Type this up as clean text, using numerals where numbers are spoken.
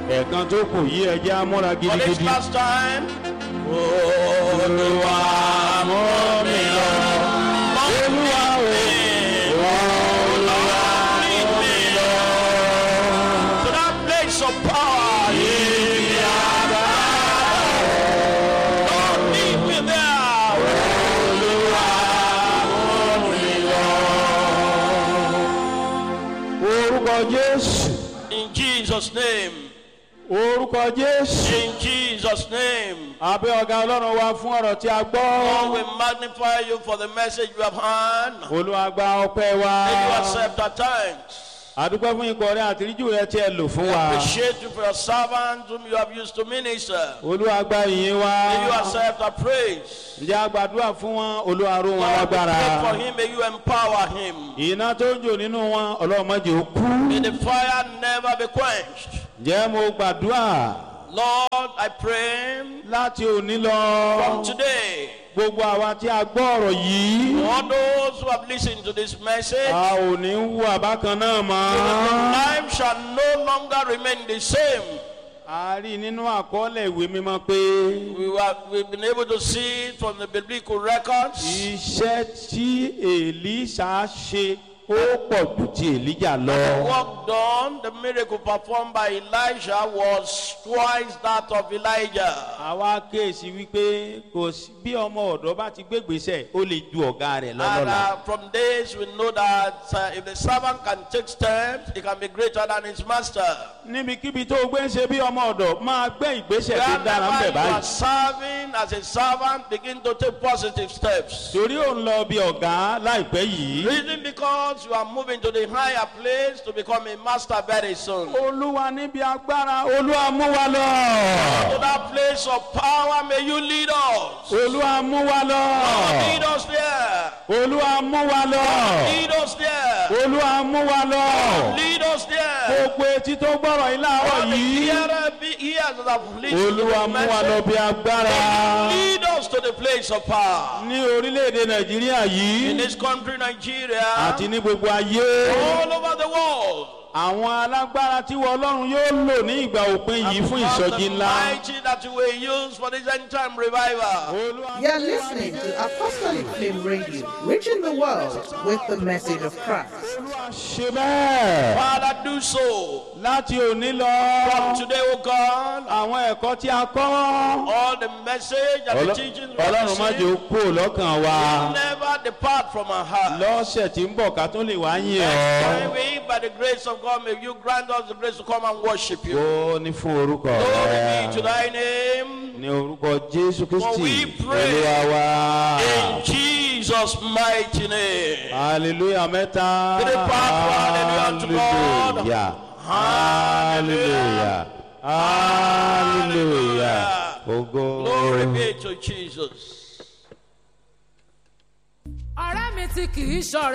Ẹ̀ẹ̀kan tó kù yí, ẹ jẹ́ á múra For this gidigidi. last time. Olúwa, mú mi lọ. Olúwa o. Olúwa, Lead me to that place of power. ibi àbá. Lord, lead me there. Olúwa, mú mi lọ. Orúkọ Jésù. In Jesus' name. Orúkọ Jésù. In Jesus' name. Abẹ́ ọ̀gá Ọlọ́run wa fún ọ̀rọ̀ tí a Lord, gbọ́. we magnify you for the message you have heard. Olúwa, gba ọpẹ́ wa. May you accept our thanks. Àdúpẹ́ fún ikọ̀ rẹ àtìríjù rẹ tí ẹ lò fún wa. Appreciate you for your servants whom you have used to minister. Olúwa, gba ìyìn wa. May you accept our praise. Ǹjẹ́ a gbàdúrà fún wọn? Olúwa, ró wọn Lord, we lágbára. pray for him. May you empower him. Iná tó ń jò nínú wọn, Ọlọ́run, má jẹ́ ó kú. May the fire never be quenched. Ǹjẹ́ mo gbàdúrà Lord, I pray láti òní lọ. from today, Gbogbo àwa tí a gbọ́ ọ̀rọ̀ yìí, all those who have listened to this message, a ò ní wù àbákan náà mọ́. life shall no longer remain the same. A rí nínú àkọọ́lẹ̀ ìwé mímọ́ pé We've been able to see it from the biblical records. iṣẹ́ tí Èlíṣà ṣe, ó pọ̀ ju ti Èlíjà lọ. The work done, the miracle performed by Elijah was twice that of Elijah. Àwa kéèsì wípé kò sí bí ọmọ ọ̀dọ́ bá ti gbégbèsè, ó lè ju ọ̀gá rẹ̀ And lọ́lọ́la. from this, we know that if the servant can take steps, he can be greater than his master. Níbikíbi tó o gbé ń ṣe bí ọmọ ọ̀dọ̀, máa gbé ìgbésẹ̀ tó dára ń Wherever bẹ̀ you báyìí. are serving as a servant, begin to take positive steps. Torí ò ń lọ bí ọ̀gá láìpẹ́ yìí. Reason, because you are moving to the higher place to become a master very soon. Olúwa, níbi agbára, Olúwa, mú wa lọ. To that place of power, may you lead us. Olúwa, mú wa lọ. Lead us there. Olúwa, mú wa lọ. Lead us there. Olúwa, mú wa lọ. Lead us there. Gbogbo etí tó gbọ́rọ̀ yìí láàárọ̀ All the yìí, hearer be ears that have listened to Olúwa, the mú wa lọ message. bí agbára. Lead us to the place of power. Ní orílẹ̀-èdè Nàìjíríà yìí In this country, Nigeria, àti ní gbogbo ayé, all over the world, àwọn alágbára tí wọ́n Ọlọ́run yóò lò ní ìgbà òpin yìí fún because ìsọjí the ńlá. mighty that you will use for this end time revival. Olúwa, You're listening to Apostolic Flame Radio, reaching the world with the message of Christ. Olúwa, ṣe bẹ́ẹ̀. Father, do so. Láti òní lọ, From today, O God, àwọn ẹ̀kọ́ tí a kọ́, all the message and the teachings we have Ọlọ́run, má jẹ́ ó received kúrò lọ́kàn wa. never depart from our heart. Lọ́sẹ̀ tí ń bọ̀, ká tún lè wá yìn Next ọ́. time we, by the grace of God, may you grant us the grace to come and worship you. Ó ní fún orúkọ Glory be to rẹ. thy name. Ní orúkọ Jésù For Kristi we pray. Olúwa wa. In Jesus' mighty name. Hallelujah mẹ́ta. Three part, hallelujah unto God. Hallelujah. Hallelujah. Hallelujah. Ògo. Glory be to Jesus. Ọ̀rẹ́ mi tí kì í ṣọ̀rẹ́.